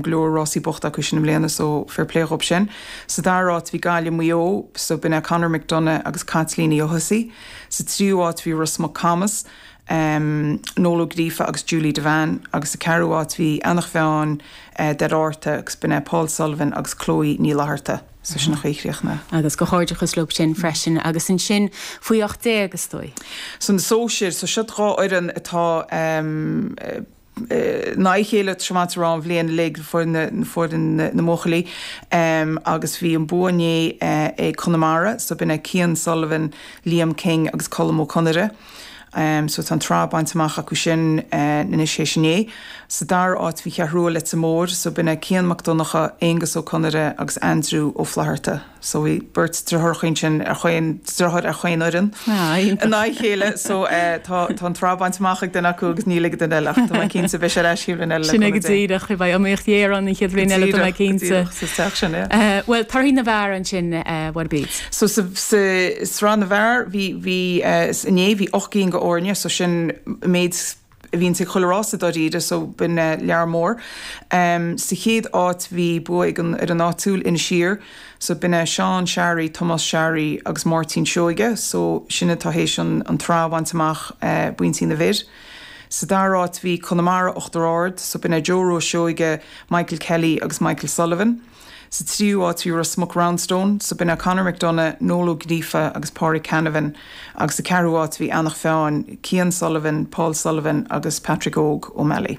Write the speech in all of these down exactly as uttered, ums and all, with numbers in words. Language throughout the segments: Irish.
Go leor rásaí bochta acu sin i mbliana so fair play dhób sin. Sa dara háit bhí Gaillimh Maigh Eo so b'in é Conor McDonagh agus Caitlín Ní Fhothasaigh. Sa tríú háit bhí Ros Muc Camas, um, Noel Ó Gríofa agus Julie Devane agus sa ceathrú háit bhí Eanach Mheáin uh, Deir agus b'in é Paul Sullivan agus Chloe Ní Fhlatharta. So sin an chaoi a chríochnaigh. Agus comhghairdeachas leo sin freisin agus ansin faoi ocht déag is dóigh. So na sóisir, so seo dhá fhoireann atá um, na chéile tráth an bhliain le foireann na mbuachaillí um, agus bhí an bua inné uh, ag Conamara, so b'in é Cian Sullivan, Liam King agus Colm Ó Conaire. Um, so tá an tsraith bainte amach acu sin uh, anois sé sinné. Sa dara háit bhí Ceathrú Rua Leitir Móir, so b'in é Cian Mac Donncha, Aonghus Ó Conaire agus Andrew Ó Flatharta. So bhí beirt deartháireacha sin ar chaon deartháir ar chaon fhoireann. Na chéile so uh, tá an tsraith bainte amach ag duine acu agus níl ag duine eile Tá cinnte beidh sé sin eile. Sin go díreach beidh iomaíocht ghéar an chéad bhliain eile tá cinnte. Well torthaí na bhfear ansin what beat. So sa sraith na bhfear bhí bhí inné bhí ocht gcinn de fhoirne, so sin méid a bhíonn sa chuile rás dáiríre so b'in lear mór. Um, sa chéad áit bhí bua ag an ar an áitiúil Inis Oírr, so b'in é Seán Seairí, Tomás Seairí agus Máirtín Seoige, so sin atá théis an, an tsraith a bhaint amach uh, buaiteoirí na bhfear. Sa dara háit bhí Conamara Uachtar Ard, so b'in é Joe Rose Seoige, Michael Kelly agus Michael Sullivan. Sa tríú háit bhí Ros Muc Roundstone, so b'in é Conor McDonough, Noel Ó Gríofa agus Pádraig Canavan, agus sa ceathrú háit bhí Eanach Mheáin, Cian Sullivan, Paul Sullivan agus Patrick Óg O'Malley.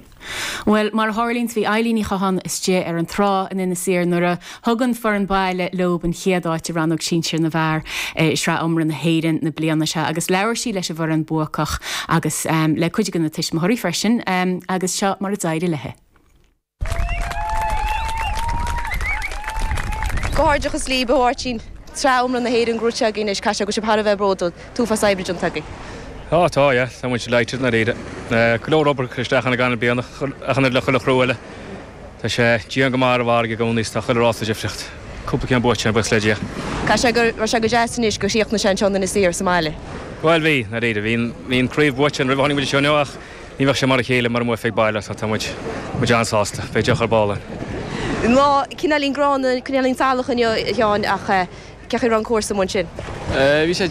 Well mar a tharlaíonn bhí Eilín Ní Chatháin istigh ar an trá in Inis Oírr nuair a thug an foireann baile leo an chéad áit i rannóg sinsir na bhfear eh, sraith iomramh na hÉireann na bliana seo agus labhair sí leis an bhfoireann buacach agus um, le cuid de na tuismitheoirí freisin um, agus seo mar a d'éirigh léi. Comhghairdeachas libh a Mháirtín Sraith iomramh na hÉireann gnóthaithe agaibh anois caithfidh sé go bhfuil sibh thar a bheith bródúil uafás oibre déanta agaibh. Á tá tá muid delighted dáiríre. Go leor obair isteach ann gach bliain ach an le chuile chriú eile. Tá sé dian go maith ar an bhfarraige i gcónaí tá chuile rás difríocht. Cúpla ceann buaite buíochas le Dia. Caithfidh sé go raibh sé go deas anois gur chríochnaigh sé anseo in Inis Oírr sa mbaile. Bhuel bhí dáiríre bhí bhí an craobh buaite an roimh tháinig muid seo ach ní bheadh sé mar a chéile mura mbuafaí ag baile tá muid muid an-sásta, beidh deoch ar ball. Lá cineáilín gránna cineáilín salach inniu a Sheáin ach cén chaoi a raibh an cúrsa amuigh ansin. Bhí sé